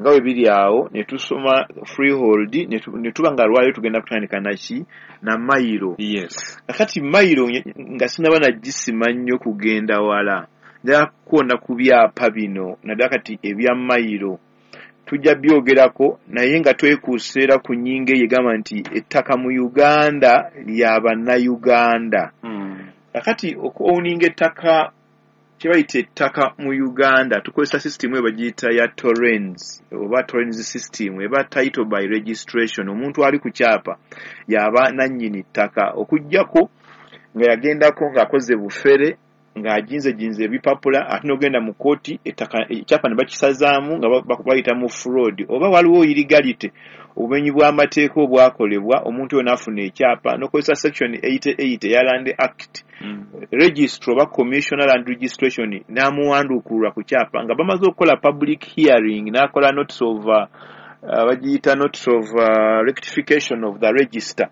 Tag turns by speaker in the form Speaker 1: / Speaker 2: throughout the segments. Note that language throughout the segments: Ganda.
Speaker 1: Nga bwe biri awo, ne tusoma freehold, ne tuba nga lwaliro tugenda kutandika naki? Na mayiro. Kakati mayiro nga sinaba nagisima nnyo kugenda wala, njagala kukoona ku byapa bino, naddala kati ebya mayiro tujja byogerako, naye nga twekuusa era ku nnyingo eyo egamba nti ettaka mu Uganda lya Bannayuganda. Kakati okuowninga ettaka, kye bayita ettaka mu Uganda, tukozesa system eyo bagiyita ya Torrens oba Torrens system, eba title by registration. Omuntu ali ku kyapa yaba nannyini ttaka, okuggyako nga yagendako ng'akoze bufere, ng'ajinzejinze ebipapula, ate n'ogenda mu kooti, ettaka ekyapa ne bakisazaamu nga bayita mu fraud, oba waliwo illegality, obumenyi bw'amateeka obwakolebwa, omuntu oyo n'afuna ekyapa n'okozesa section 88 eya Land Act, registrar oba commissioner land registration n'amuwanduukulula ku kyapa nga bamaze okukola public hearing, n'akola notice of bagiyita notice of rectification of the register.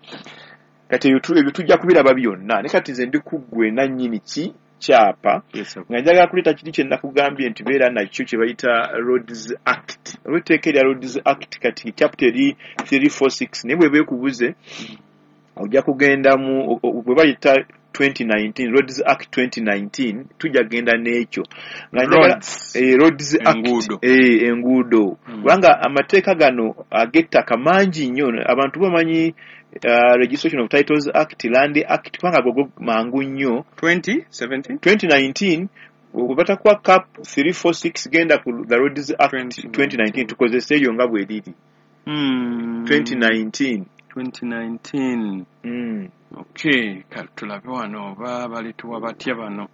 Speaker 1: Kati ebyo tujja kubiraba byonna, ne kati nze ndi ku ggwe nannyini ki kyapa, nga njagala kuleeta kiri kye nakugambye nti beera nakyo, kye bayita Roads Act, oba etteeka erya Roads Act. Kati chapter eri 346, naye bw'eba ekubuze ojja kugenda mu bwe bayita 2019, Roads Act 2019, tujja kugenda n'ekyo nga njagala
Speaker 2: Roads.
Speaker 1: Roads Act.
Speaker 2: Enguudo.
Speaker 1: Enguudo. Kubanga amateeka gano ag'ettaka mangi nnyo, abantu bamanyi Registration of Titles Act, Land Act, kubanga ago mangu nnyo.
Speaker 2: 2017.
Speaker 1: 2019, bwe batakuwa cap 346, genda ku the Roads Act
Speaker 2: 2019.
Speaker 1: 2019, tukozese eyo nga bwe riri. 2019.
Speaker 2: 2019. Okay, kale tulabe wano oba balituwa batya bano.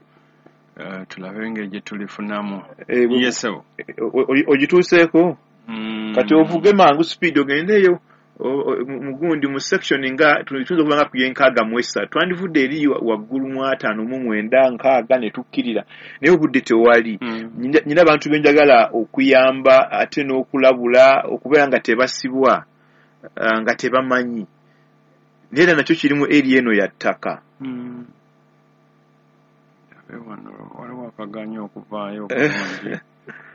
Speaker 2: Tulabe engeri gye tulifunamu. Yes, sir.
Speaker 1: Ogituuseeko? Kati ovuge mangu speed ogendeeyo mugundi mu section nga tuyinza okuba nga ku y'enkaaga mu esatu, twandivudde eri waggulu mu 59, 60 ne tukkirira, naye obudde tewali. Nyina abantu be njagala okuyamba ate n'okulabula okubeera nga tebasibwa, nga tebamanyi, naye era nakyo kirimu eri eno ya ttaka.
Speaker 2: Tulabe wano, waliwo akaganya okuvaayo obulungi,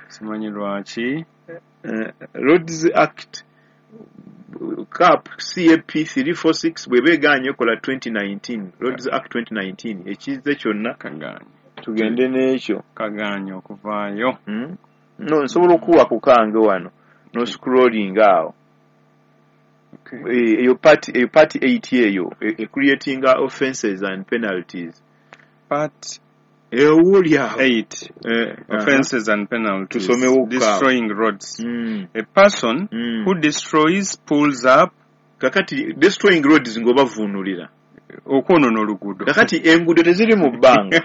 Speaker 2: simanyi lwaki.
Speaker 1: Roads Act cap cap 346, bw'eba egaanye ekola 2019, Roads Act 2019, ekizze kyonna.
Speaker 2: Kaganye.
Speaker 1: Tugende n'ekyo.
Speaker 2: Kaganye okuvaayo.
Speaker 1: No, nsobola okuwa ku kange wano noscrolling awo. Eyo part 8 eyo creating offenses and penalties.
Speaker 2: Part
Speaker 1: Ewuli awo.
Speaker 2: 8. Offenses and penalties.
Speaker 1: Tusomewo.
Speaker 2: Destroying roads. A person who destroys, pulls up.
Speaker 1: Kakati destroying roads ng'obavuunulira?
Speaker 2: Okwonoona oluguudo.
Speaker 1: Kakati enguudo teziri mu bbanga,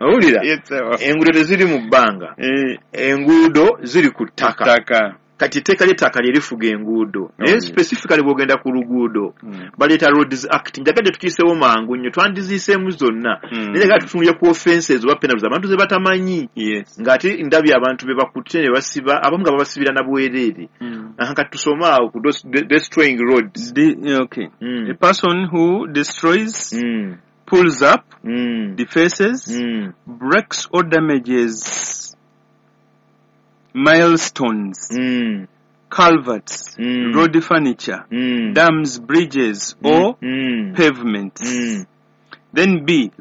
Speaker 1: owulira?
Speaker 2: Yes, sir.
Speaker 1: Enguudo teziri mu bbanga, enguudo ziri ku ttaka.
Speaker 2: Ttaka.
Speaker 1: Kati etteeka ly'ettaka lye lifuga enguudo, naye specifically bw'ogenda ku luguudo, baleeta Roads Act. Njagadde tukiisewo mangu nnyo, twandiziiseemu zonna, naye njagala tutunulire ku offenses oba penalties abantu ze batamanyi, ng'ate ndabye abantu be bakutte ne basiba, abamu nga babasibira na bwereere. Aha, kati tusome awo ku destroying roads.
Speaker 2: Okay. A person who destroys, pulls up, defaces, breaks or damages milestones, culverts, road furniture, dams, bridges, or pavements. Then B.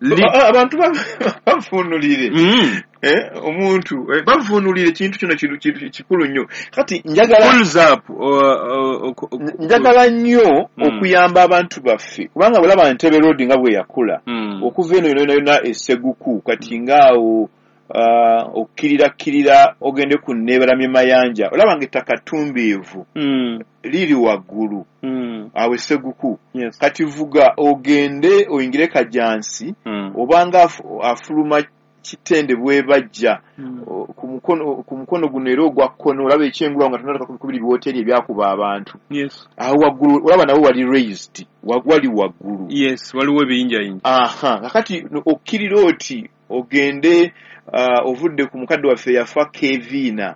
Speaker 1: Abantu bavuunulire. Omuntu bavuunulire ekintu kino kikulu nnyo. Kati njagala
Speaker 2: Pulls up.
Speaker 1: Njagala nnyo okuyamba abantu baffe, kubanga bwelaba Entebbe Road nga bwe yakula, okuva eno yonna yonna eseguku, kati ngaawo okkirirakkirira ogende ku Neebalamye Mayanja, olaba nga ettaka ttumbiivu liri waggulu awo eseguku. Kati vuga ogende oyingire Kajansi, obanga afuluma Kitende bwebajja, ku mukono guno era ogwa kkono olaba ekyengulu awo nga tonataka kubiri biwoteeri ebyakuba abantu. Awo waggulu olaba nawo wali raised, wali waggulu.
Speaker 2: Yes, waliwo ebiyinjayinja.
Speaker 1: Aha, kakati okkirira oti ogende, ovudde ku mukadde waffe yafa Keviina.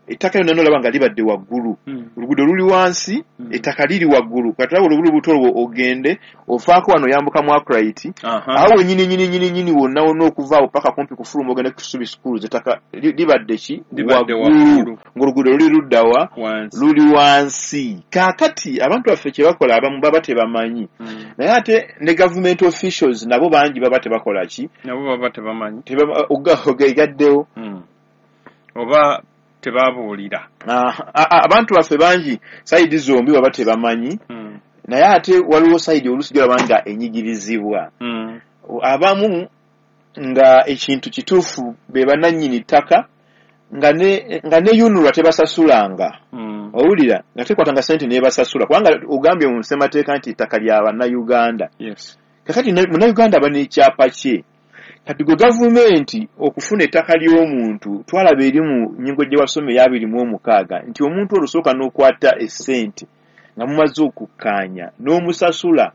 Speaker 1: Ettaka lyonna nolaba nga libadde waggulu, oluguudo luli wansi, ettaka liri waggulu. Kati olaba olubuto olwo ogende ofaako wano oyambuka mu Akright, awo wennyini nyini nyini nyini wonna wonna okuva awo paka kumpi kufuluma ogende ku Kisubi Schools, ettaka libadde ki? Waggulu, ng'oluguudo luli luddawa? Luli wansi. Kaakati abantu baffe kye bakola abamu baba tebamanyi, naye ate ne government officials nabo bangi baba tebakola ki?
Speaker 2: Nabo baba tebamanyi,
Speaker 1: ogaddewo
Speaker 2: oba tebabuulira.
Speaker 1: Abantu baffe bangi side zombi baba tebamanyi, naye ate waliwo side oluusi gy'olaba nga enyigirizibwa. Abamu nga ekintu kituufu be bannannyini ttaka, nga ne UNRA tebasasulanga. Owulira nga tekwatanga ssente n'ebasasula, kubanga ogambye mu ssemateeka nti ettaka lya Bannayuganda. Kakati Munnayuganda aba n'ekyapa kye. Kati gwe gavumenti okufuna ettaka ly'omuntu, twalaba eri mu nnyingo gye wasoma eya 2026 nti omuntu olusooka n'okwata essente nga mumaze okukkaanya n'omusasula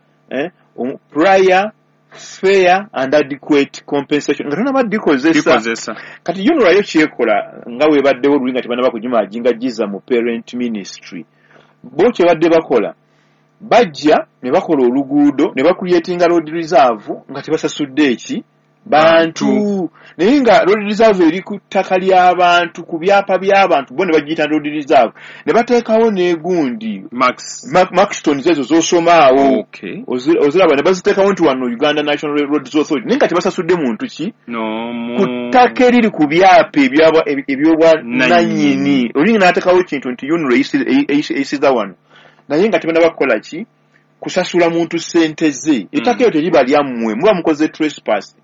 Speaker 1: prior, fair and adequate compensation nga tonaba dikozesa. Kati UNRA yo kyekola nga weebaddewo luli nga tebannaba kugimaginga giza mu parent ministry, bo kyebadde bakola bajja ne bakola oluguudo ne bacreatinga road reserve nga tebasasudde eki bantu, naye nga road reserve eri ku ttaka ly'abantu, ku byapa by'abantu, bo ne bagiyita road reserve ne bateekawo n'egundi Maxtons ezo z'osomaawo oziraba ne baziteekawo nti wano Uganda National Roads Authority, naye nga tebasasudde muntu ki ku ttaka eriri ku byapa ebyobwannannyini. Oli n'ateekawo ekintu nti UNRA eyisiza wano, naye nga tebannaba kukola ki? Kusasula muntu ssente ze. Ettaka eryo teriba lyammwe, muba mukoze trespass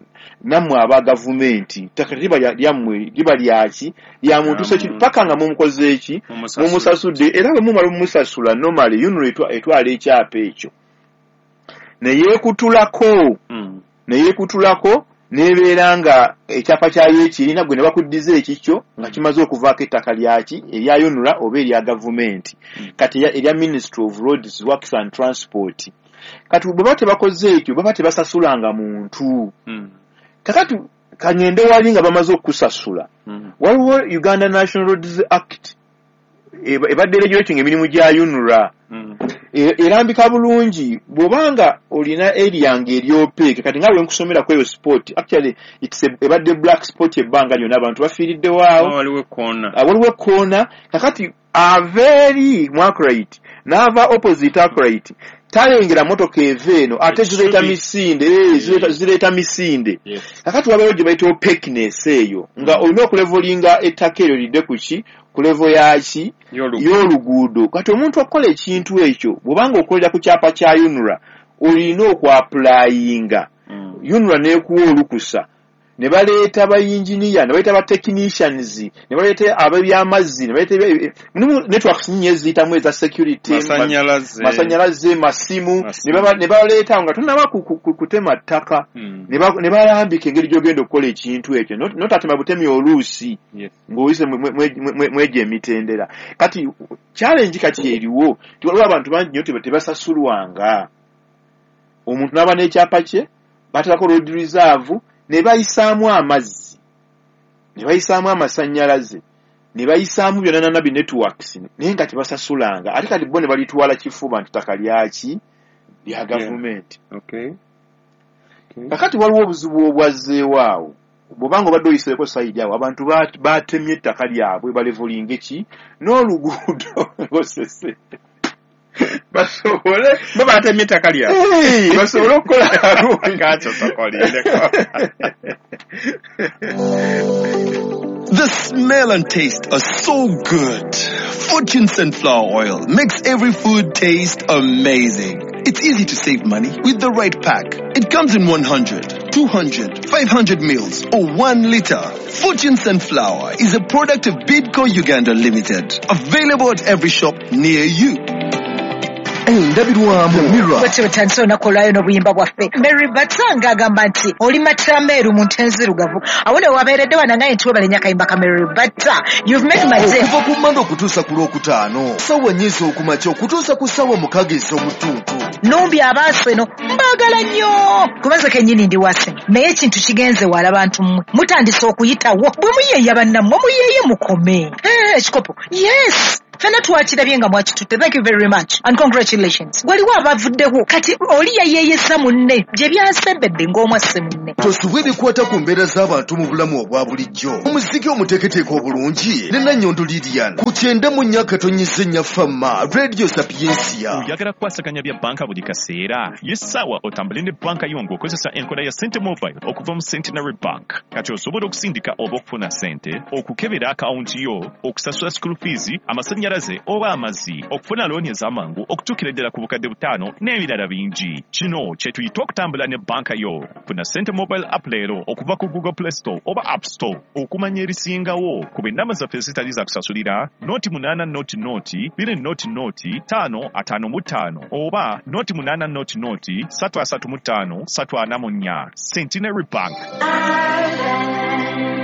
Speaker 1: nammwe aba gavumenti. Ettaka teriba lyammwe, liba lyaki? Lya muntu seki paka nga mumukoze eki? Mumusasudde. Era bwe mumala omumusasula normally UNRA etwala ekyapa ekyo neyeekutulako nebeera nga ekyapa kyayo ekirina, gwe ne bakuddiza ekikyo nga kimaze okuvaako ettaka lyaki erya UNRA oba erya gavumenti, kati erya Ministry of Roads, Works and Transport. Kati bwe baba tebakoze ekyo, baba tebasasulanga muntu. Kakati kangende wali nga bamaze okukusasula, waliwo Uganda National Roads Act ebadde regulating emirimu gya UNRA, erambika bulungi bw'obanga olina area nga eri opaque. Kati nga bwe nkusomera ku eyo spot, actually it's ebadde black spot ebbanga lyonna, abantu bafiiriddewo awo, waliwo ekkoona. Kakati ava eri mu Akright n'ava opposite Akright, talengera motoka eva eno, ate zireeta misinde, zireeta misinde. Kakati wabeewo gye bayita opaqueness eyo, nga olina okulevolinga ettaka eryo lidde ku ki? Ku level yaki? Y'oluguudo. Kati omuntu okukola ekintu ekyo, bw'obanga okolera ku kyapa kya UNRA, olina okuapplyinga. UNRA n'ekuwa olukusa, ne baleeta ba engineer, ne baleeta ba technicians, ne baleeta ab'ebyamazzi, ne baleeta networks nnyingi eziyitamu eza security, masanyalaze, masimu, ne baleeta nga tonnaba kutema ttaka, ne balambika engeri gy'ogenda okukola ekintu ekyo, notatema butemi oluusi ng'oyise mwegyo emitendera. Kati challenge kati eriwo nti waliwo abantu bangi nnyo tebasasulwanga. Omuntu n'aba n'ekyapa kye, bateekako road reserve, ne bayisaamu amazzi, ne bayisaamu amasannyalaze, ne bayisaamu byonna nana bi networks, naye nga tebasasulanga. Ate kati bo ne balitwala kifuba nti ttaka lyaki? Lya gavumenti. Kakati waliwo obuzibu obwazzeewo awo, bw'obanga obadde oyiseeko side awo, abantu batemye ettaka lyabwe balevolinge ki n'oluguudo ng'osese basobole
Speaker 2: bo batemye ettaka lyabwe
Speaker 1: basobole okukola.
Speaker 3: The smell and taste are so good. Fortune Sunflower Oil makes every food taste amazing. It's easy to save money with the right pack. It comes in 100, 200, 500 mils or 1 liter. Fortune Sunflower is a product of Bidco Uganda Limited. Available at every shop near you.
Speaker 4: Endabirwamu
Speaker 5: Mirror. Bwetyo bwetandise olunaku olwayo n'obuyimba bwaffe. Mary Batanga agamba nti oli matameeru mu nte nzirugavu. Awo ne wabeeredde wanangaye nti webale nnyo akayimba ka Mary Bata. You've made my day.
Speaker 4: Okuva ku Mmande okutuusa ku Lwokutaano, ssaawa nnya ez'okumakya okutuusa ku ssaawa 6 ez'omutuntu.
Speaker 5: Numbi abaaseno mbaagala nnyo. Kubanze kennyini ndi wase. Naye ekintu kigenze wala bantu mmwe. Mutandise okuyitawo. Bwe muyeeya bannammwe muyeeye mukome. Ekikopo, yes, fena twakirabye nga mwakitutte. Thank you very much and congratulations. Waliwo abavuddewo kati oli yayeeyesa munne gye byasembedde ng'omwasse munne.
Speaker 4: Tosubwa ebikwata ku mbeera z'abantu mu bulamu obwa bulijjo. Omuziki omuteeketeeke obulungi ne Nannyondo Lilian ku 94.4 Fama Radio Sapiensia.
Speaker 6: Oyagala kukwasaganya bya banka buli kaseera? Ye ssaawa otambule ne banka yo ng'okozesa enkola ya Sente Mobile okuva mu Centenary Bank. Kati osobola okusindika oba okufuna sente, okukebera akawunti yo, okusasula school fees, amasannyalaze oba amazzi, okufuna looni ez'amangu okutuukira ddala ku 5,000 n'ebirala bingi. Kino kye tuyita okutambula ne banka yo. Funa Sente Mobile app leero okuva ku Google Play Store oba App Store. Okumanya ebisingawo ku ennamba zaffe ezitali za kusasulira 0 800 200 555 oba 0 800 335 344. Centenary Bank.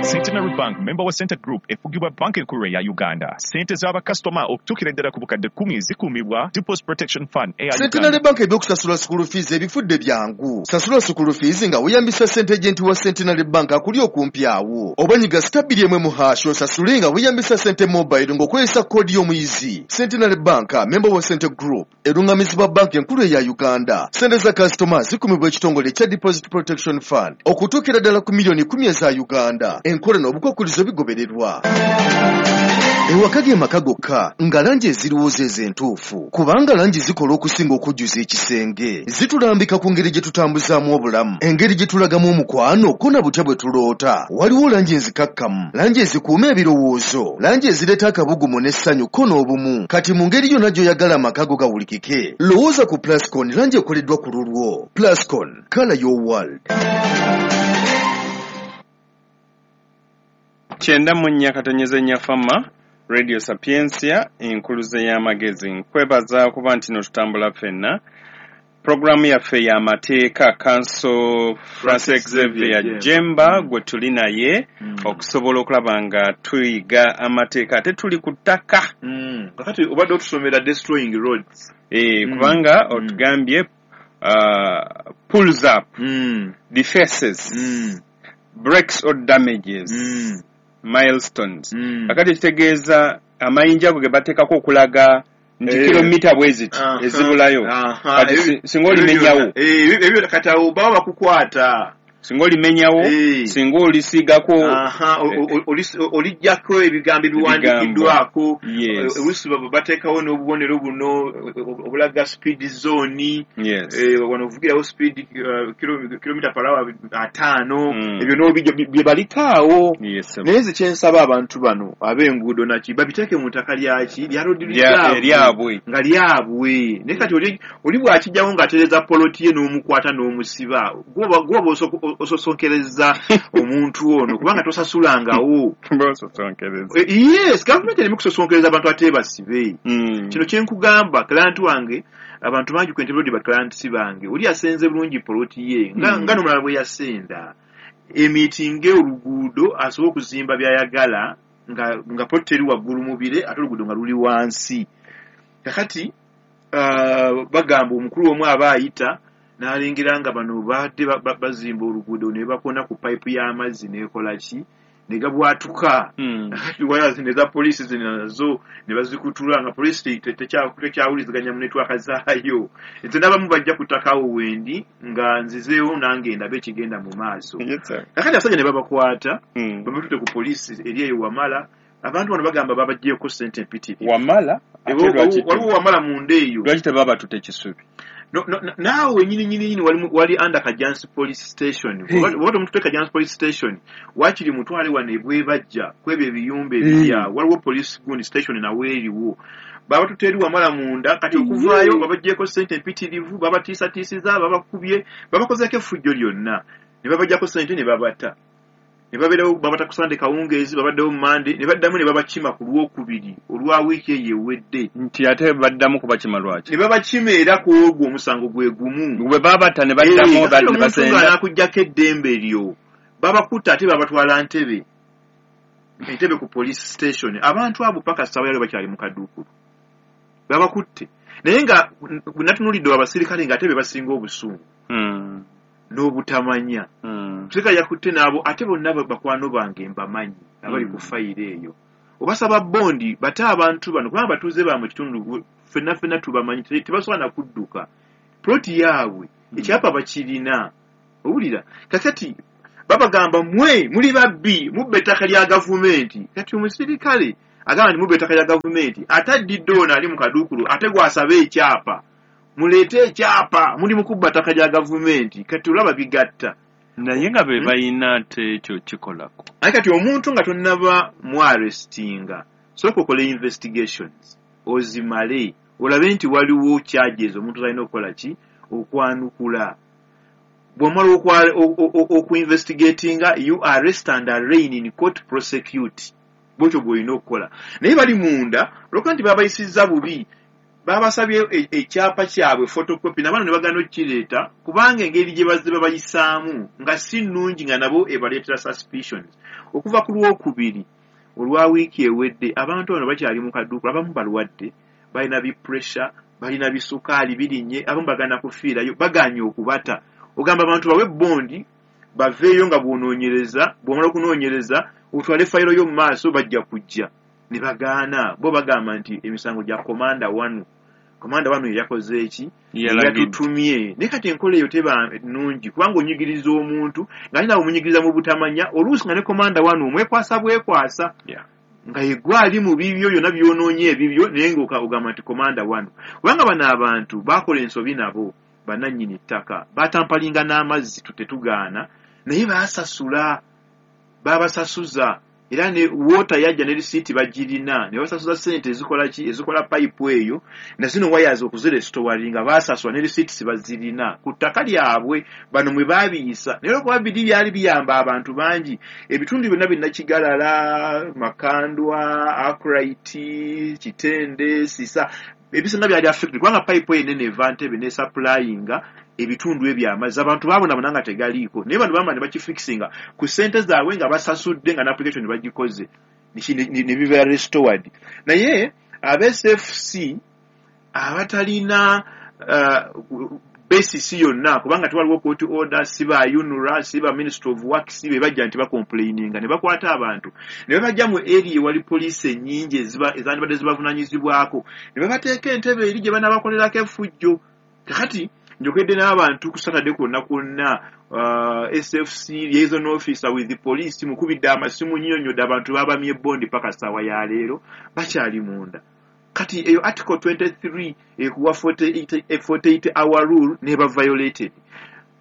Speaker 6: Centenary Bank, member wa Sente Group, efugibwa Banka Enkulu eya Uganda. Sente z'abakasitoma okutuukira ddala ku 10,000 zikuumibwa Deposit Protection Fund eya
Speaker 4: Centenary
Speaker 6: Uganda.
Speaker 4: Bank ebyokusasula school fees ebifudde byangu. Sasula school fees nga weeyambisa sente agent wa Centenary Bank akuli okumpi awo, oba nyiga *1 mu hash osasule nga weeyambisa Sente Mobile ng'okozesa koodi y'omuyizi. Centenary Bank, member wa Sente Group, erungamizibwa Banka Enkulu eya Uganda. Sente za kasitoma zikumibwa ekitongole ekya Deposit Protection Fund okutuukira ddala ku 10,000,000 eza Uganda. Enkola n'obukwakulizo bigobererwa. Ewaka ge maka gokka nga langi eziriwo zeezo entuufu, kubanga langi zikola okusinga okujjuza ekisenge. Zitulambika ku ngeri gye tutambuzaamu obulamu, engeri gye tulagamu omukwano, ko na butya bwe tuloota. Waliwo langi enzikakkamu, langi ezikuuma ebirowoozo, langi ezireeta akabugumu n'essanyu ko n'obumu. Kati mu ngeri yonna gy'oyagala amaka go gawulikike, lowooza ku Plascon, langi ekoleddwa ku lulwo. Plascon, color your world.
Speaker 2: 94.4 Fama Radio Sapiensia, enkuluze y'amagezi. Nkwebaza kuba nti no tutambula ffenna. Puroguramu yaffe y'amateeka, Counsel Francis Xavier Jemba gwe tuli naye okusobola okulaba nga tuyiga amateeka, ate tuli ku ttaka.
Speaker 1: Kakati obadde otusomera destroying roads.
Speaker 2: Kubanga otugambye pulls up, defaces, breaks or damages milestones. Kakati kitegeeza amayinja ago ge bateekako okulaga nti kilomita bwe ziti ezibulayo. Kati singa olimenyawo,
Speaker 1: Ebyo kati awo baba bakukwata.
Speaker 2: Singa olimenyawo, singa olisiigako,
Speaker 1: olijjako ebigambo ebiwandiikiddwako.
Speaker 2: Yes.
Speaker 1: Oluusi bateekawo n'obubonero buno obulaga speed zone. Wano ovugirawo speed kilomita per hour 50. Ebyo n'obijja bye balikaawo. Naye nze kyensaba abantu bano ab'enguudo naki babiteeke mu ttaka lyaki lya road reserve.
Speaker 2: Eryabwe.
Speaker 1: Nga lyabwe. Naye kati oli bw'akijjawo ng'atereeza poloti ye n'omukwata n'omusiba, gwoba ososonkereza omuntu ono kubanga tosasulangawo.
Speaker 2: Bososonkereza.
Speaker 1: Yes, gavumenti erimu kusosonkereza abantu ate basibe. Kino kyenkugamba, client wange, abantu bangi ku Entebbe Road ba clients bange, oli yasenze bulungi poloti ye nga, nga n'omulala bwe yasenda emitinge oluguudo asobole okuzimba by'ayagala nga poloti teri waggulu mu bire ate oluguudo nga luli wansi. Kakati bagamba omukulu omu aba ayita n'alengera nga bano badde bazimba oluguudo ne bakona ku payipu y'amazzi n'ekola ki ne gabwatuka. Waya zino eza poliisi zino nazo ne bazikutula nga poliisi tekyawuliziganya mu network zaayo. Nze n'abamu bajja ku ttaka awo wendi nga nzizeewo nange ndabe ekigenda mu maaso.
Speaker 2: Yes, sir.
Speaker 1: Kakati abasajja ne babakwata, babatutte ku poliisi eri eyo Wamala. Abantu bano bagamba babaggyeko ssente empitirivu.
Speaker 2: Wamala ate
Speaker 1: Waliwo Wamala munda eyo.
Speaker 2: Lwaki tebabatutte Kisubi?
Speaker 1: No, naawe nyini nyini nyini wali under Kajansi Police Station. Oba tomututte Kajansi Police Station, waakiri mutwale wano ebwebajja kwebyo ebiyumba ebiri awo. Waliwo police gundi station nawe eriwo. Babatutte eri Wamala munda. Kati okuvaayo babaggyeko ssente empitirivu, babatiisatiisiza, babakubye, babakozeeko effujjo lyonna ne babaggyako ssente ne babata ne babeerawo. Babata ku Sande kawungeezi, babaddewo Mande ne baddamu ne babakima ku Lwokubiri olwa wiiki eyo ewedde.
Speaker 2: Nti ate baddamu kubakima lwaki?
Speaker 1: Ne babakima era ku ogwo omusango gwe gumu.
Speaker 2: Bwe babata ne baddamu
Speaker 1: Kati
Speaker 2: ne
Speaker 1: omuntu
Speaker 2: basenda.
Speaker 1: ng'anaakugyako eddembe lyo, babakutta ate babatwala Ntebe, Entebe ku police station. Abantu abo paka ssaawa yaliyo bakyali mu kaduukulu. Babakutte naye nga natunulidde abasirikale ng'ate be basinga obusungu n'obutamanya. Omusirikale yakutte n'abo ate bonna bakwano bange mbamanyi abali ku fayiro eyo. Obasaba bondi bate abantu bano kubanga batuuze ba mu kitundu ffenna ffenna tubamanyi, tebasobola na kudduka. Ploti yaabwe ekyapa bakirina, owulira? Kakati babagamba mwe muli babbi, mubba ettaka lya gavumenti. Kati omusirikale agamba nti mubba ettaka lya gavumenti, ate addidde ono ali mu kaduukulu, ate gw'asaba ekyapa, muleete ekyapa, muli mu kubba ttaka lya gavumenti. Kati olaba bigatta.
Speaker 2: Naye nga be balina ate ekyo kikolako.
Speaker 1: Naye kati omuntu nga tonnaba muarrestinga, sooka okole investigations ozimale, olabe nti waliwo charges omuntu zalina okukola ki, okwanukula. Bw'omala okuinvestigatinga, you arrest and arraign in court, prosecute. Bwotyo bw'olina okukola. Naye bali munda olwokuba nti babayisizza bubi, babasabye ekyapa kyabwe photocopy, nabano ne bagaana okukireeta kubanga engeri gye bazze babayisaamu nga si nnungi, nga nabo ebaleetera suspicions. Okuva ku Lwokubiri olwa wiiki ewedde, abantu bano bakyali mu kaduukulu, abamu balwadde, balina bi pressure, balina bisukaali birinnye, abamu bagana kufiirayo, bagaanye okubata. Ogamba abantu bawe bondi baveeyo nga bw'onoonyereza, bw'omala okunoonyereza otwale fayiro yo mu maaso, bajja kujja. Ne bagaana. Bo bagamba nti emisango gya komanda wanu, komanda wanu yeyakoze eki, yatutumye. Naye kati enkola eyo teba nnungi, kubanga onyigiriza omuntu nga nawe omunyigiriza mu butamanya, oluusi nga ne komanda wanu omwekwasa bwekwasa, nga yegwe ali mu bibyo byonna by'onoonye ebibyo, naye nga ogamba nti komanda wanu. Kubanga bano abantu baakola ensobi, nabo bannannyini ttaka batampalinga n'amazzi, tetugaana, naye baasasula, babasasuza, era ne water yajja ne risiiti bagirina, ne basasuza ssente ezikola ki, ezikola payipu eyo na zino wires okuzirestoringa, baasasula ne risiiti bazirina ku ttaka lyabwe bano mwe baabiyisa. Naye olwokuba biri byali biyamba abantu bangi, ebitundu byonna binnakigalala, Makandwa, Akright, Kitende, Sisa, ebisinga byali affected kubanga payipu eyo enene eva Ntebe nesupplyinga ebitundu ebyo amazzi. Abantu baabonabona nga tegaliiko, naye bano bamala ne bakifixinga ku ssente zaabwe nga basasudde, nga n'application bagikoze, ne biba restored. Naye aba SFC abatalina basis yonna, kubanga tewaliwo court order, si ba UNRA, si ba Minister of Works, be bajja nti bacomplaininga ne bakwata abantu ne babajja mu area ewali poliisi ennyingi ezandibadde zibavunaanyizibwako, ne babateeka entebe eri gye banaabakolerako effujjo. Kakati njogedde n'abantu ku Saturday kwonna kwonna, SFC liaison officer with the police mukubidde amasimu, nnyonnyodde abantu babamye bondi paka ssaawa ya leero bakyali munda. Kati eyo article 23 ekuwa 48 hour rule neba violated.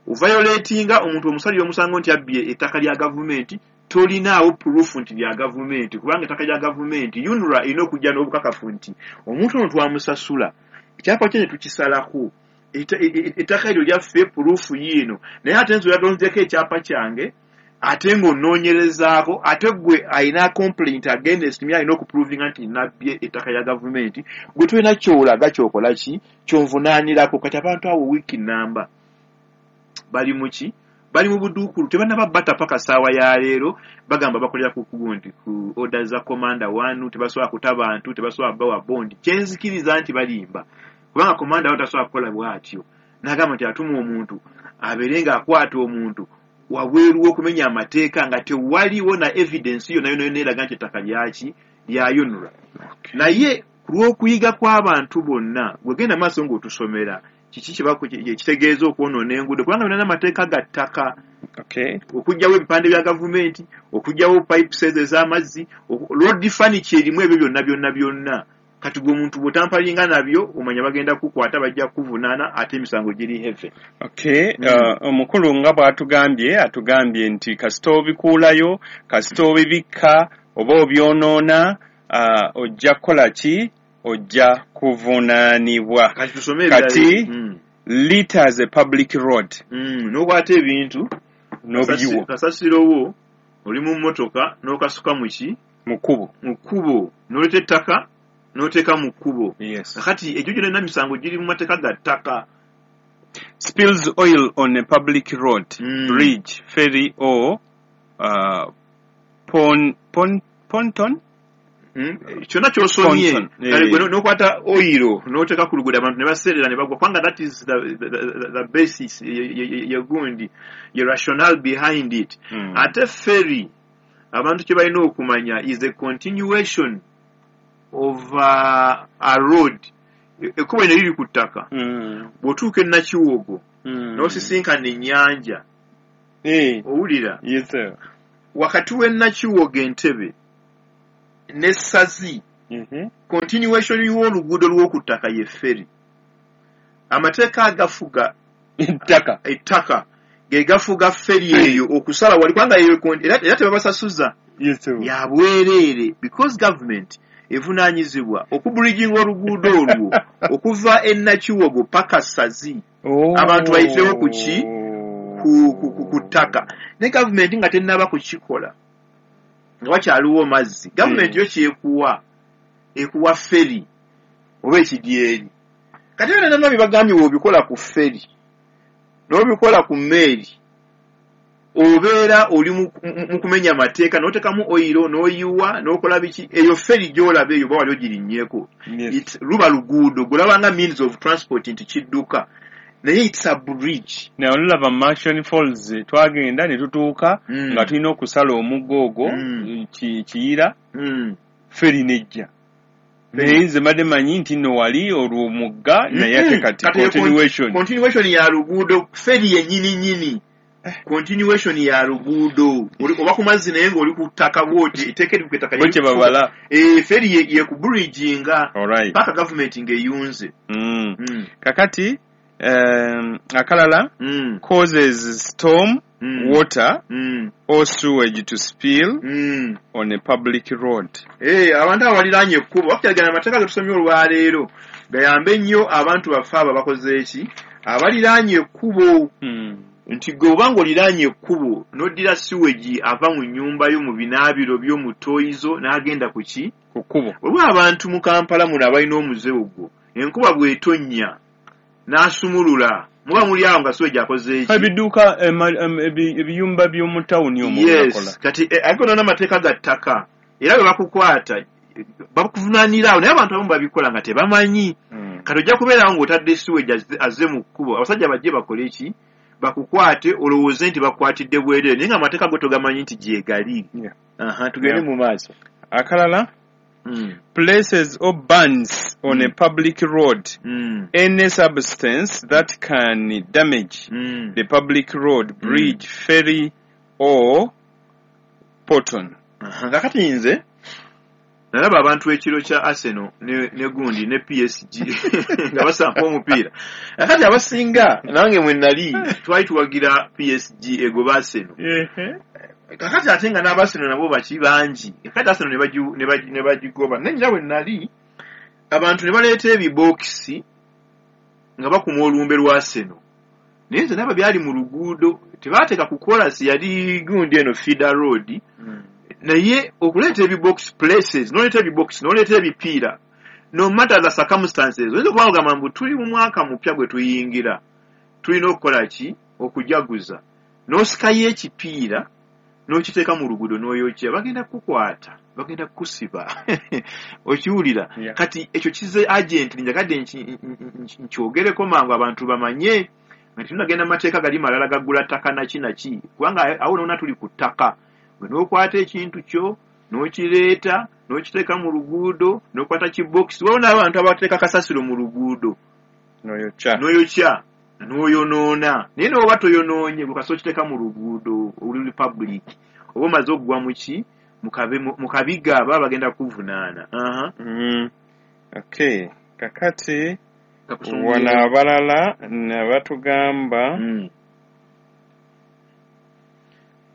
Speaker 1: Oviolatinga omuntu omusalira omusango nti abbye ettaka lya gavumenti, tolinaawo proof nti lya gavumenti, kubanga ettaka lya gavumenti UNRA erina okujja n'obukakafu nti omuntu ono twamusasula, ekyapa kye ne tukisalako, ettaka eryo lyaffe, proof yiino. Naye ate nze oyagala ekyapa kyange, ate ng'onoonyerezaako, ate gwe alina complaint against me alina okuprovinga nti nabbye ettaka lya gavumenti, gwe tolina kyolaga kyokola ki kyonvunaanirako. Kati abantu abo wiiki namba bali muki, bali mu buduukulu, tebannaba bata paka ssaawa ya leero. Bagamba bakolera ku gundi, ku order za komanda wanu, tebasobola kuta bantu, tebasobola bawa bondi. Kyenzikiriza nti balimba, kubanga komanda wanu tasobola kukola bw'atyo n'agamba nti atuma omuntu abeere ng'akwata omuntu wabweru w'okumenya amateeka nga tewaliwo na evidence yonna yonna yonna eraga nti ettaka lyaki, lya UNRA. Naye ku lw'okuyiga kw'abantu bonna, gwegenda maaso ng'otusomera kiki kitegeeza okwonoona enguudo, kubanga byonna n'amateeka ga ttaka, okuggyawo ebipande bya gavumenti, okuggyawo pipes ezo ez'amazzi, road furniture erimu ebyo byonna byonna byonna. Kati gwe omuntu bw'otampalinga nabyo, omanya bagenda kukwata, bajja kukuvunaana, ate emisango giri heavy.
Speaker 2: Omukulu nga bw'atugambye, atugambye nti kasita obikuulayo, kasita obibikka oba obyonoona, ojja kukola ki, ojja kuvunaanibwa.
Speaker 1: Kati tusome ebirala.
Speaker 2: Kati litters a public road.
Speaker 1: N'okwata ebintu
Speaker 2: n'obiyiwa,
Speaker 1: kasasiro wo oli mu mmotoka n'okasuka mu ki,
Speaker 2: mu kkubo,
Speaker 1: mu kkubo, n'oleeta ettaka n'oteeka mu kkubo. Kakati egyo gyonna misango giri mu mateeka ga ttaka.
Speaker 2: Spills oil on a public road, bridge, ferry or ponton.
Speaker 1: Kyonna ky'osomye.
Speaker 2: Ponton,
Speaker 1: Kale gwe n'okwata oil n'oteeka ku luguudo, abantu ne baseerera ne bagwa, kubanga that is the basis ye gundi, ye rationale behind it. Ate ferry Abantu kye balina okumanya is a continuation of a road. Ekkubo lino liri ku ttaka. Bw'otuuka e Nakiwogo n'osisinkana ennyanja, owulira?
Speaker 2: Yes, sir.
Speaker 1: Wakati w'e Nakiwogo, Entebe ne Ssazi, continuation y'oluguudo lw'oku ttaka ye ferry. Amateeka agafuga
Speaker 2: ettaka,
Speaker 1: ettaka ge gafuga ferry eyo okusala wali, kubanga eyo era tebabasasuza.
Speaker 2: Yes, sir.
Speaker 1: Ya bwereere, because government evunaanyizibwa okubridginga oluguudo olwo okuva e Nakiwogo paka Ssazi.
Speaker 2: Oh.
Speaker 1: Abantu bayitewo ku ki? Ku ttaka. Ne gavumenti nga tennaba kukikola, nga wakyaliwo mazzi, gavumenti yo kyekuwa, ekuwa ferry oba ekidyeri. Kati era nana bibagambye, bw'obikola ku ferry n'obikola ku mmeeri, obeera oli mu kumenya amateeka, n'oteekamu oyiro n'oyiwa n'okola biki. Eyo ferry gy'olaba eyo, oba wali ogirinnyeeko? Luba luguudo gw'olaba nga means of transport nti kidduka, naye it's a bridge.
Speaker 2: Naye olulaba Murchison Falls, twagenda ne tutuuka nga tulina okusala omugga ogwo Kiyira, ferry nejja, naye nze mbadde manyi nti nno wali olwo omugga, naye ate kati
Speaker 1: Kati eyo
Speaker 2: continuation.
Speaker 1: Continuation ya luguudo, ferry yennyini nyini continuation ya luguudo. Oba ku mazzi naye ng'oli ku ttaka bw'oti, etteeka eri ku ttaka.
Speaker 2: Bo kye babala.
Speaker 1: Ferry ye ku bridginga paka gavumenti ng'eyunze.
Speaker 2: Kakati akalala, causes storm water or sewage to spill on a public road.
Speaker 1: Abantu abo baliraanye ekkubo bakukyagana amateeka ge tusomye olwaleero gayambe nnyo abantu baffe abo abakoze eki, abaliraanye ekkubo, nti gwe oba ng'oliraanye ekkubo n'oddira sewage ava mu nnyumba yo, mu binaabiro byo, mu toilet n'agenda ku ki?
Speaker 2: Ku kkubo.
Speaker 1: Waliwo abantu mu Kampala muno abalina omuze ogwo, enkuba bw'etonnya n'asumulula, muba muli awo nga sewage akoze eki?
Speaker 2: Ebidduuka, ebiyumba by'omu tawuni omwo byakola.
Speaker 1: Kati aliko nona amateeka ga ttaka, era bwe bakukwata bakuvunaanira awo, naye abantu abamu babikola nga tebamanyi. Kati ojja kubeerawo ng'otadde sewage azze mu kkubo, abasajja bajje bakole ki? Bakukwate, olowooze nti bakwatidde bwereere, naye nga amateeka go togamanyi nti gyegali. Aha, tugende mu maaso.
Speaker 2: Akalala, places or burns on a public road any substance that can damage the public road, bridge, ferry or pontoon.
Speaker 1: Aha, kakati nze nalaba abantu ekiro kya Arsenal ne gundi ne PSG nga basamba omupiira. Kakati abasinga, nange mwe nali, twali tuwagira PSG egoba Arsenal. Kakati ate nga n'aba Arsenal nabo baki bangi. Kakati Arsenal ne bagigoba, naye ngira bwe nali, abantu ne baleeta ebibokisi nga bakuma olumbe lwa Arsenal, naye nze naba byali mu luguudo, tebateeka ku kolasi, yali gundi eno feeder road. Naye okuleeta ebibox, places noleeta ebibox, noleeta ebipiira, no matter the circumstances, oyinza okuba ogamba mbu tuli mu mwaka mupya gwe tuyingira, tulina okukola ki? Okujaguza. N'osikayo ekipiira n'okiteeka mu luguudo n'oyokya, bagenda kukukwata, bagenda kukusiba. Okiwulira?
Speaker 2: Yeah.
Speaker 1: Kati ekyo kize agent, njagadde nkyogereko mangu abantu bamanye nga tunagenda mu mateeka gali malala gaggula ttaka naki naki, kubanga awo nona tuli ku ttaka. Bwe n'okwata ekintu kyo n'okireeta n'okiteeka mu luguudo, n'okwata kibokisi, waliwo n'abantu abateeka kasasiro mu luguudo.
Speaker 2: Noyokya.
Speaker 1: N'oyokya n'oyonoona, naye n'oba toyonoonye, gwe kasita okiteeka mu luguudo oluli public, oba omaze okugwa mu ki? Mu kabiga, baba bagenda kuvunaana. Aha.
Speaker 2: Okay, kakati
Speaker 1: Kakusungire.
Speaker 2: wano abalala ne batugamba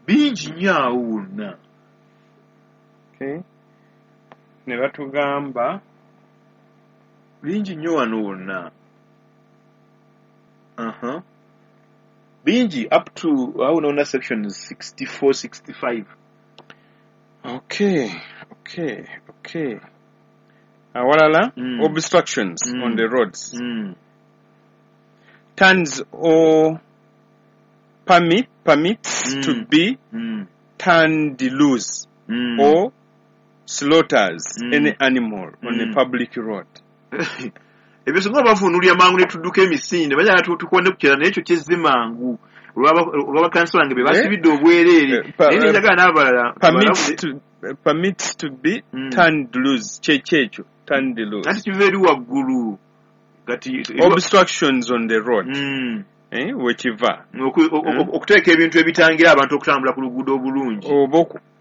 Speaker 1: Bingi nnyo awo wonna.
Speaker 2: Okay. Ne batugamba
Speaker 1: Bingi nnyo wano wonna. Aha, bingi up to awo nona section 64, 65.
Speaker 2: Okay, awalala, obstructions on the roads, turns or permits to be turned loose or slaughters any animal on a public road.
Speaker 1: Ebyo singa bavuunulya mangu ne tudduka emisinde, bajala tukonde ku kirala, naye ekyo kizze mangu. Olw'abakansala nge be basibidde obwereere, naye nenjagala n'abalala.
Speaker 2: Permits to be turned loose. Kyekyo turned loose.
Speaker 1: Ati kiva eri waggulu kati
Speaker 2: obstructions on the road. Wekiva
Speaker 1: okuteeka ebintu ebitangira abantu okutambula ku luguudo obulungi,
Speaker 2: oba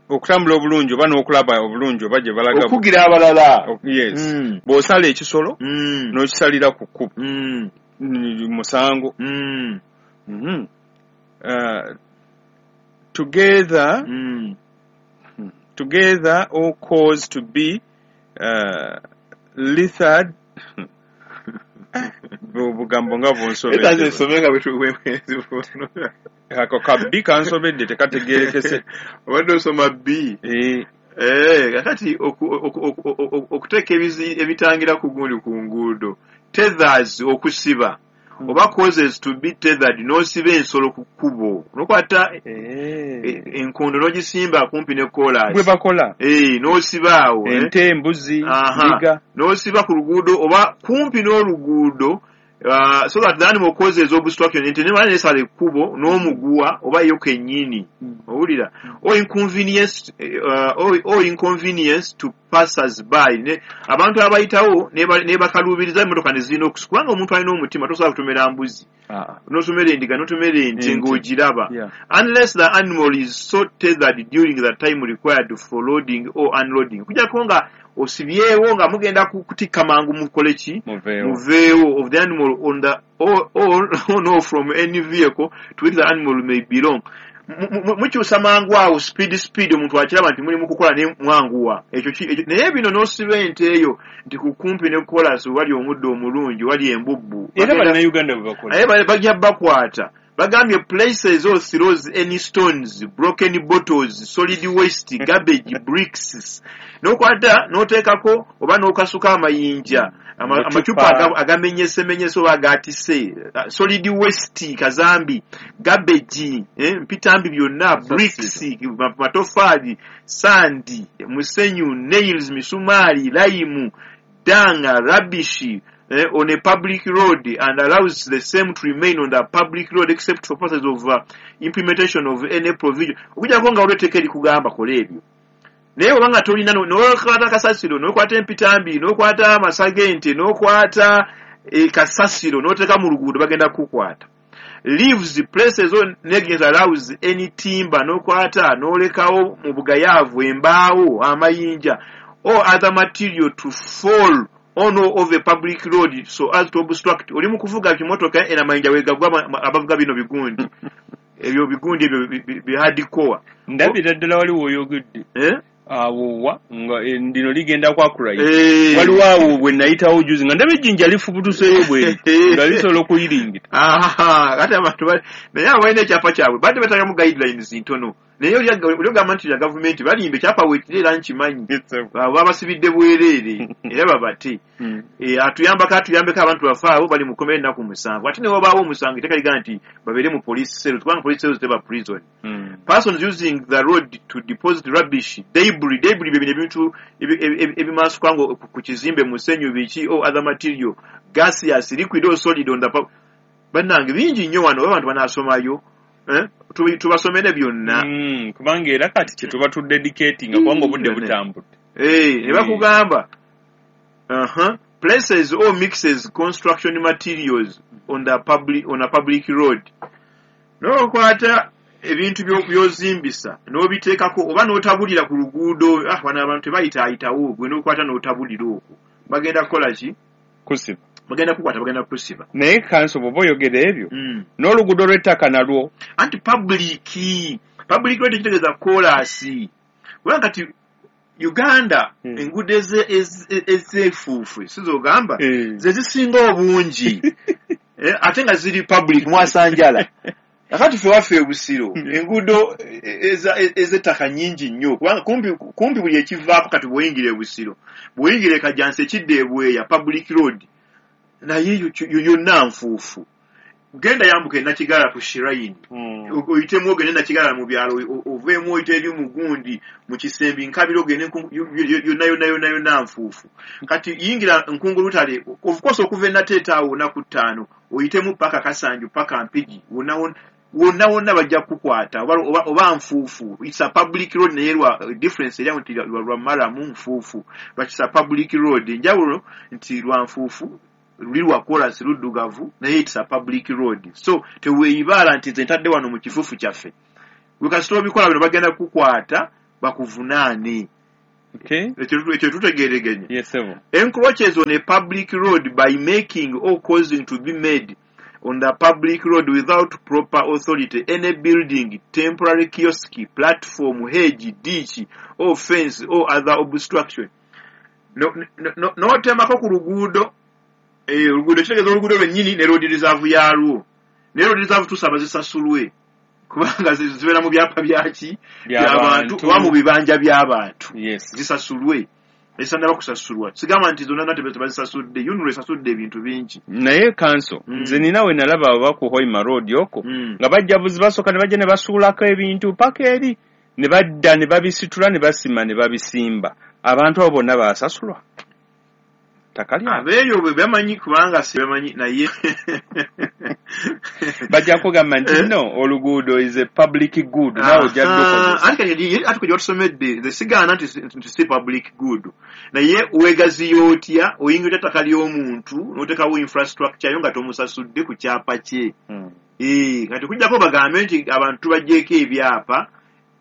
Speaker 2: okutambula obulungi, oba n'okulaba obulungi, oba gye balaga
Speaker 1: okugira abalala.
Speaker 2: Yes. Bw'osala ekisolo n'okisalira ku kkubo, musango. Together or cause to be littered. Obugambo nga bunsobedde. Ako ka B kansobedde, tekategerekese.
Speaker 1: Obadde osoma B. Kakati okuteeka ebitangira ku gundi ku nguudo, tethers, okusiba, oba causes to be tethered, n'osiba ensolo ku kkubo, n'okwata enkondo n'ogisimba kumpi ne koolaasi
Speaker 2: bwe bakola.
Speaker 1: N'osiba awo.
Speaker 2: Ente, embuzi, ndiga.
Speaker 1: N'osiba ku luguudo oba kumpi n'oluguudo, so that the animal causes obstruction, ente nemala nesala ekkubo n'omuguwa oba yo kennyini, owulira, or inconvenience to passers by, ne abantu abayitawo ne bakaluubiriza emmotoka ne zirina okusi, kubanga omuntu alina omutima tosobola kutomera mbuzi, n'otomera endiga, n'otomera ente ng'ogiraba, unless the animal is so tethered during the time required for loading or unloading, okujjako nga osibyewo nga mugenda kutikka mangu mukole ki, muveewo, of the animal on the or no from any vehicle to which the animal may belong. Mukyusa mangu awo, speed, omuntu akiraba nti mulimu kukola ne mwanguwa ekyo. Naye bino n'osiba ente eyo nti kukumpi ne koolaasi wali omuddo omulungi, wali embubbu.
Speaker 2: Era Bannayuganda bwe bakola.
Speaker 1: Naye bajja bakwata. Bagambye places or throws any stones, broken bottles, solid waste, garbage, bricks, n'okwata n'oteekako oba n'okasuka amayinja, amacupa agamenyesemenyese oba agatise, solid waste, kazambi, garbage, mpitambi byonna, bricks, matofaali, sand, musenyu, nails, misumaali, lime, dung, rubbish, on a public road, and allows the same to remain on the public road except for purposes of implementation of any provision. Okujjako nga waliwo etteeka erikugamba kola ebyo, naye oba nga tolina, n'okwata kasasiro, n'okwata empitambi, n'okwata amasa g'ente, n'okwata kasasiro n'oteeka mu luguudo, bagenda kukukwata. Leaves places or negligence allows any timber, n'okwata n'olekawo mu bugayaavu embaawo, amayinja or other material to fall on or off a public road so as to obstruct. Oli mu kuvuga kimotoka era amayinja wegagwa, abavuga bino bigundi ebyo, bigundi ebyo bi hardcore.
Speaker 2: Ndabira ddala waliwo oyogedde awo wa nga lino ligenda kwakulayi. Waliwo awo bwe nayitawo juzi nga ndaba ejjinja lifubutuseeyo bwe nga lisobola okuyiringita.
Speaker 1: Kati abantu naye abo balina ekyapa kyabwe, badde batagamu guidelines ntono, naye oli ogamba nti ya gavumenti balimba, ekyapa weekiri era nkimanyi babasibidde bwereere era babate. Atuyambako, atuyambeko, abantu bafe abo bali mu kkomera ennaku 7, ate ne wabaawo omusango etteeka ligamba nti babeere mu police cells, kubanga police cells teba prison. Persons using the road to deposit rubbish, debris, debris bye bino ebintu ebimansuka ngo ku kizimbe, musenyu, biki, or other material, gaseous, liquid or solid on the bannange bingi nnyo wano, abantu banaasomayo, tubasomere byonna.
Speaker 2: Kubanga era kati kye tuba tudedicatinga, kubanga obudde butambudde.
Speaker 1: Ne bakugamba places or mixes construction materials on a public road, n'okwata ebintu by'ozimbisa n'obiteekako oba n'otabulira ku luguudo. Wano abantu tebayitaayitawo, gwe n'okwata n'otabulira okwo, bagenda kukola ki?
Speaker 2: Kusiba.
Speaker 1: Bagenda kukwata, bagenda kukusiba.
Speaker 2: Naye kanso bw'oba oyogera ebyo, n'oluguudo lw'ettaka nalwo.
Speaker 1: Anti public road kitegeeza koolaasi, kubanga kati Uganda enguudo ez'enfuufu sizogamba ze zisinga obungi, ate nga ziri public mwasanjala. Kakati ffe waffe ebusiro enguudo ez'ettaka nnyingi nnyo, kubanga kumpi buli ekivaako kati bw'oyingira ebusiro, bw'oyingira ekajjansi ekidda ebweya, public road, naye yonna nfuufu. Genda yambuka enakigala ku shrine, oyitemu ogende nakigala mu byalo, oveemu oyite eri mu gundi mu kisembi nkabira, ogende yonna yonna yonna yonna nfuufu. Kati yingira Nkungulutale, of course okuva enateeta awo naku 5 oyitemu paka Kasanju paka Mpigi, wonna wonna Wonna wonna bajja kukwata oba nfuufu. It's a public road, naye lwa difference eri nti lwa maramu nfuufu, but it's a public road. Enjawulo nti lwa nfuufu luli lwa kolansi luddugavu, naye it's a public road. So teweeyibaala nti nze ntadde wano mu kifuufu kyaffe. Wekasita obikola bino bagenda kukwata bakuvunaane. Ekyo tutegeeregenye.
Speaker 2: Yes,
Speaker 1: encroaches on a public road by making or causing to be made on the public road without proper authority any building, temporary kiosk, platform, hedge, ditch or fence or other obstruction. N'otemako ku luguudo, oluguudo kitegeeza oluguudo lwennyini ne road reserve yaalwo. Naye road reserve tusaba zisasulwe kubanga zibeera mu byapa byaki by'abantu oba mu bibanja by'abantu. Zisasulwe, ezitannaba kusasulwa. Sigamba nti zonna tebazisasudde, UNRA esasudde ebintu bingi.
Speaker 2: Naye kanso, nze nina we nalaba aba ku Hoima Road okwo nga bajja buzi basooka ne bajja ne basuulako ebintu paka eri ne badda ne babisitula ne basima ne babisimba. Abantu abo bonna baasasulwa ttaka lyabwe.
Speaker 1: Abeeyo bwe bamanyi kubanga si bamanyi, naye
Speaker 2: bajja kugamba nti no, oluguudo is a public good, naawe ojja lukozesa.
Speaker 1: Ate kati watusomedde, nze sigaana nti si public good, naye weegaziya otya oyingira ettaka ly'omuntu n'oteekawo infrastructure yo nga tomusasudde ku kyapa kye? Kati okuggyako bagambe nti abantu tubaggyeko ebyapa,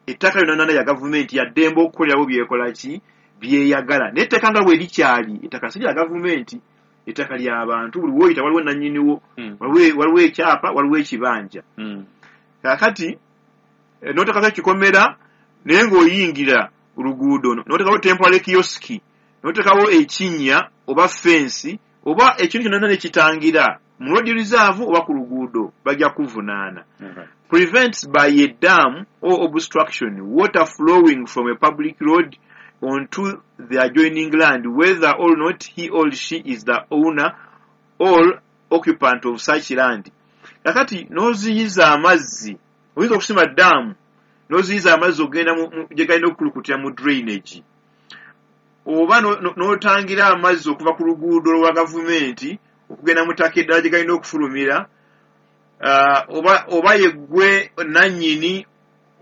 Speaker 1: ettaka lyonna ya gavumenti yaddembe okukolerawo byekola ki byeyagala. Naye ettaka nga bwe likyali ettaka si lya gavumenti, ettaka ly'abantu. Buli w'oyita waliwo nannyiniwo, waliwo ekyapa, waliwo ekibanja. Kaakati n'oteekako ekikomera naye ng'oyingira oluguudo, n'oteekawo temporary kiosk, n'oteekawo ekinnya oba fensi oba ekintu kyonna nekitangira mu road reserve oba ku luguudo, bajja kuvunaana. Prevents by a dam or obstruction water flowing from a public road onto the adjoining land, whether or not he or she is the owner or occupant of such land. Kakati n'oziyiza amazzi, oyinza okusima daamu n'oziyiza amazzi ogenda gye galina okukulukutira mu drainage, oba n'otangira amazzi okuva ku luguudo lwa gavumenti okugenda mu ttaka eddala gye galina okufulumira, oba yeggwe nannyini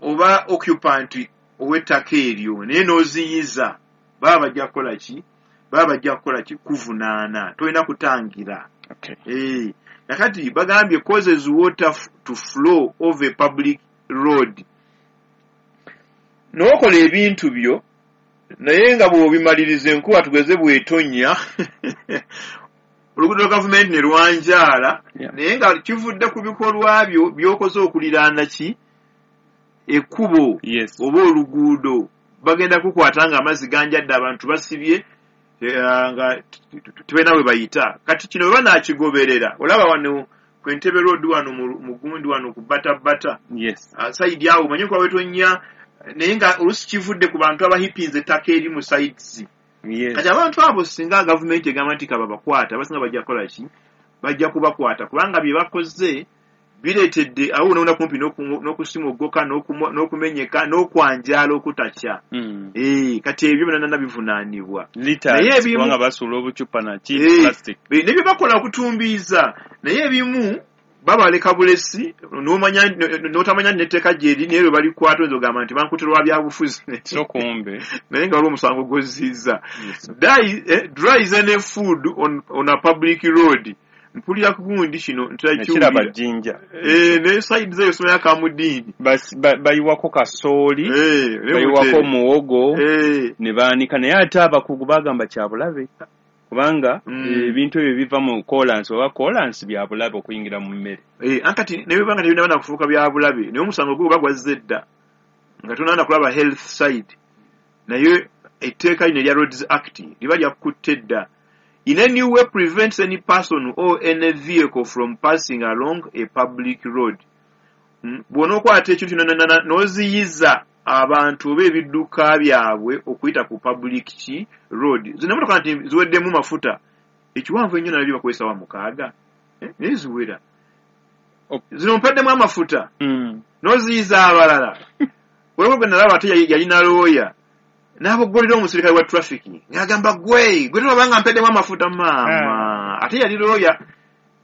Speaker 1: oba occupant ow'ettaka eryo, naye n'oziyiza, baba bajja kukola ki? Baba bajja kukola ki? Kuvunaana. Tolina kutangira. Kakati bagambye causes water to flow over a public road. N'okola ebintu byo naye nga bw'obimaliriza enkuba tugeze bw'etonnya oluguudo lwa gavumenti ne lwanjaala, naye nga kivudde ku bikolwa byo by'okoze okuliraana ki ekkubo oba oluguudo, bagenda kukwata nga amazzi ganjadde, abantu basibye nga tebalina we bayita. Kati kino bwe banaakigoberera, olaba wano ku Entebbe Road wano mu gundi wano ku Bata side awo omanyi nkuba wetonnya, naye nga oluusi kivudde ku bantu abahipinze ettaka eri mu sides. Kati abantu abo singa gavumenti egamba nti kababakwata, abasinga bajja kukola ki? Bajja kubakwata kubanga bye bakoze bireetedde awo wonna kumpi n'okusimugguka n'okumenyeka n'okwanjaala okutakya. Kati ebyo byonna bivunaanibwa.
Speaker 2: Naye ebimu kubanga basuula obucupa na ki plastic.
Speaker 1: Ne bye bakola okutumbiiza, naye ebimu babaleka bulesi n'otamanya n'etteeka gyeri, naye lwe balikwata oyinza ogamba nti bankutte lwa byabufuzi.
Speaker 2: So kumbe
Speaker 1: naye nga waliwo omusango gw'ozzizza. Dries any food on a public road. Mpulira kugundi kino
Speaker 2: ntakiraba jjinja.
Speaker 1: Ne side zeyo somera kamudiini.
Speaker 2: Bayiwako kasooli, bayiwako muwogo, ne baanika, naye ate abakugu bagamba kya bulabe kubanga ebintu ebyo biva mu kolansi oba kolansi bya bulabe okuyingira mu mmere.
Speaker 1: Ankati ne bibanga tebinaba na kufuuka bya bulabe, naye omusango gwo bagwazze dda nga tonaana kulaba health side, naye etteeka lino erya Roads Act liba lyakutte dda. In any way prevents any person or any vehicle from passing along a public road. Bw'onookwata ekintu kino n'oziyiza abantu oba ebidduka byabwe okuyita ku public ki road. Zino emmotoka nti ziweddemu mafuta, ekiwanvu ennyo nalabye bakozesa wa 6, naye ziwera. Zino mpaddemu amafuta n'oziyiza abalala. Waliwo gwe nalaba ate yalina looya n'aboggolera omusirikale wa traffic ng'agamba gwe tolabanga mpeddemu amafuta maama. Ate yali looya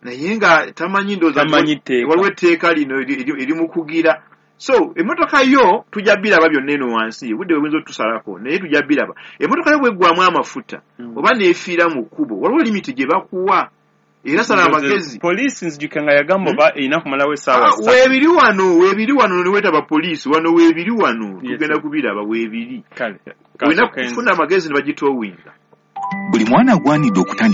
Speaker 1: Naye nga tamanyi, ndowooza
Speaker 2: Tamanyi tteeka.
Speaker 1: Waliwo etteeka lino erimukugira. So emmotoka yo tujja biraba byonna eno wansi, obudde bwe buyinza otusalako, naye tujja biraba. Emmotoka yo bweggwamu amafuta oba neefiira mu kkubo, waliwo limiti gye bakuwa, era sala amagezi.
Speaker 2: Poliisi nzijukira nga yagamba oba erina kumalawo essaawa
Speaker 1: Ah,
Speaker 2: 3.
Speaker 1: Weebiri wano, weebiri wano, newetaba poliisi wano, weebiri wano. Tugenda
Speaker 2: sir.
Speaker 1: kubiraba, weebiri.
Speaker 2: Kale
Speaker 1: Olina
Speaker 2: kasooke
Speaker 1: kufuna amagezi ne bagitowinga.
Speaker 3: Buli mwana agwanidde okutandika.